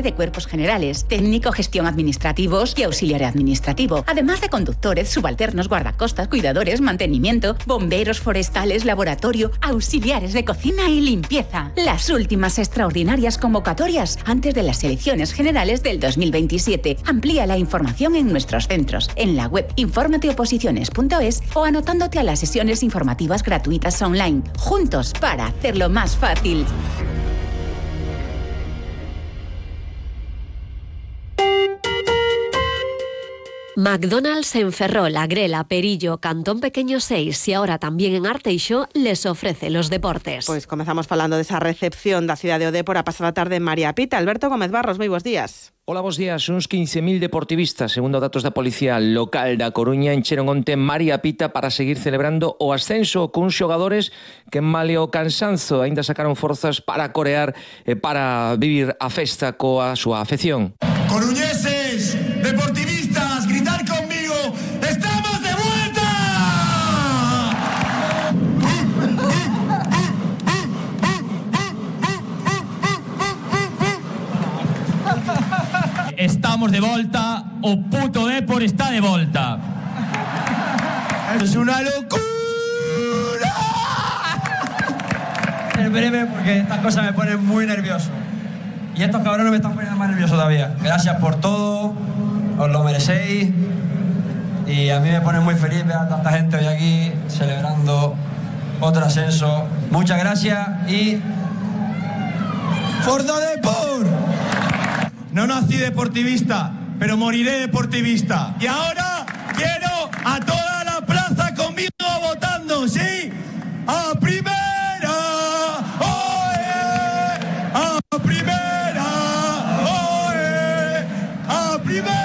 de cuerpos generales, técnico, gestión administrativos y auxiliar administrativo, además de conductores, subalternos, guardacostas, cuidadores, mantenimiento, bomberos forestales, laboratorio, auxiliares de cocina y limpieza. Las últimas extraordinarias convocatorias antes de las elecciones generales del 2027. Amplía la información en nuestros centros, en la web informateoposiciones.es o anotándote a las sesiones informativas gratuitas online. Juntos para hacerlo más fácil. McDonald's en Ferrol, Agrela, Perillo, Cantón Pequeño 6 y ahora también en Arteixo les ofrece los deportes. Pois comezamos falando desa recepción da cidade de Odé por a pasada tarde en María Pita. Alberto Gómez Barros, moi bons días. Hola, bons días. Uns 15.000 deportivistas, segundo datos da Policía Local da Coruña, encheron onte María Pita para seguir celebrando o ascenso con xogadores que male o cansanzo aínda sacaron forzas para corear e para vivir a festa coa súa afección. Coruñeses, deportivistas, gritar conmigo, ¡estamos de vuelta! Estamos de volta, o puto Depor está de volta. Es una locura. En breve, porque estas cosas me ponen muy nervioso. Y estos cabrones me están poniendo más nervioso todavía. Gracias por todo, os lo merecéis. Y a mí me pone muy feliz ver a tanta gente hoy aquí celebrando otro ascenso. Muchas gracias y... ¡Forza Depor! No nací deportivista, pero moriré deportivista. Y ahora quiero a toda la plaza conmigo votando, ¿sí? ¡A primera! ¡Oe! ¡A primera! ¡Oe! ¡A primera!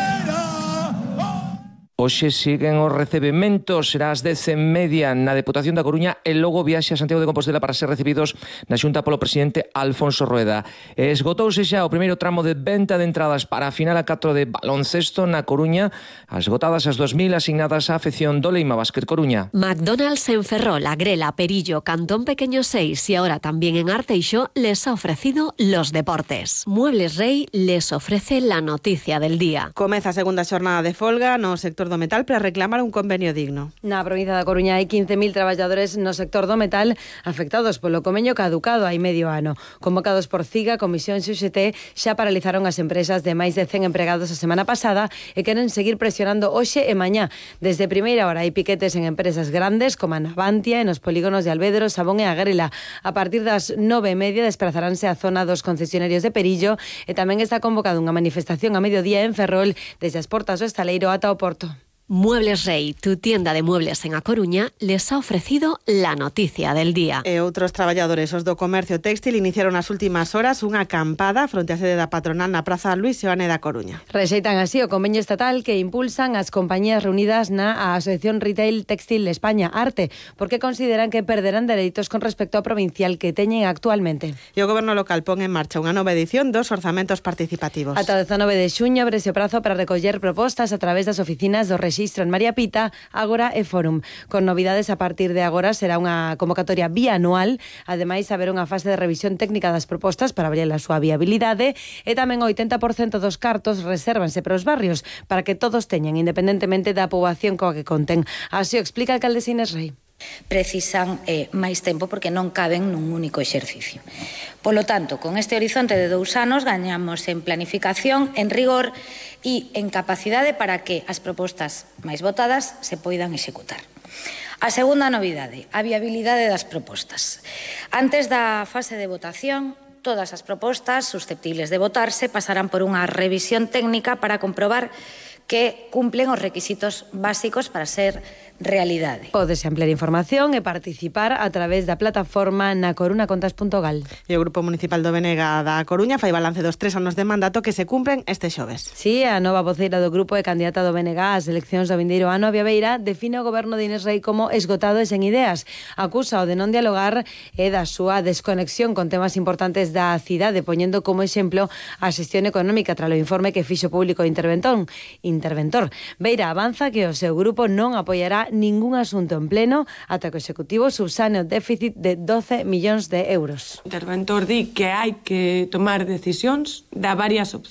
Hoxe siguen os recebementos, será ás 10:30 na Deputación da Coruña e logo viaxe a Santiago de Compostela para ser recibidos na Xunta polo presidente Alfonso Rueda. Esgotouse xa o primeiro tramo de venta de entradas para a final a 4 de baloncesto na Coruña, esgotadas as 2.000 asignadas á afección do Leima Básquet Coruña. McDonald's en Ferrol, Agrela, Perillo, Cantón Pequeño 6 y ahora también en Arteixo les ha ofrecido los deportes. Muebles Rey les ofrece la noticia del día. Comeza a segunda xornada de folga no sector do metal para reclamar un convenio digno. Na provincia da Coruña hai 15.000 traballadores no sector do metal afectados polo convenio caducado hai medio ano. Convocados por CIGA, Comisión XUXT, xa paralizaron as empresas de máis de 100 empregados a semana pasada e queren seguir presionando hoxe e mañá. Desde primeira hora hai piquetes en empresas grandes como a Navantia e nos polígonos de Albedro, Sabón e Agrela. A partir das 9:30 desplazaránse á zona dos concesionarios de Perillo e tamén está convocada unha manifestación a mediodía en Ferrol desde as portas do Estaleiro ata o Porto. Muebles Rey, tu tienda de muebles en A Coruña, les ha ofrecido la noticia del día. E outros traballadores os do comercio textil iniciaron nas últimas horas unha acampada fronte á sede da patronal na Praza Luis Seoane da Coruña. Rexeitan así o convenio estatal que impulsan as compañías reunidas na Asociación Retail Textil España, ARTE, porque consideran que perderán dereitos con respecto ao provincial que teñen actualmente. E o goberno local pon en marcha unha nova edición dos orzamentos participativos. Ata o 19 de xuño abrese o prazo para recoller propostas a través das oficinas do rexistro en María Pita, Ágora e Fórum. Con novidades a partir de agora será unha convocatoria bianual, ademais haber unha fase de revisión técnica das propostas para ver a súa viabilidade e tamén o 80% dos cartos resérvanse para os barrios para que todos teñan, independentemente da poboación coa que conten. Así o explica a alcaldesa Inés Rei. Precisan máis tempo porque non caben nun único exercicio. Polo tanto, con este horizonte de 2 anos gañamos en planificación, en rigor e en capacidade para que as propostas máis votadas se poidan executar. A segunda novidade, a viabilidade das propostas. Antes da fase de votación, todas as propostas susceptibles de votarse pasarán por unha revisión técnica para comprobar que cumplen os requisitos básicos para ser realidade. Podes ampliar información e participar a través da plataforma nacorunacontas.gal. E o Grupo Municipal do Benega da Coruña fai balance dos 3 anos de mandato que se cumpren este xoves. Sí, a nova voceira do grupo e candidata do Benega ás eleccións do vindeiro ano, Avia Beira, define o goberno de Inés Rei como esgotado e sen ideas. Acusa o de non dialogar e da súa desconexión con temas importantes da cidade, poñendo como exemplo a xestión económica tras o informe que fixo público o interventor. Beira avanza que o seu grupo non apoiará ningún asunto en pleno ata que o Executivo subsane o déficit de 12 millóns de euros. O interventor di que hai que tomar decisións, dá varias opcións.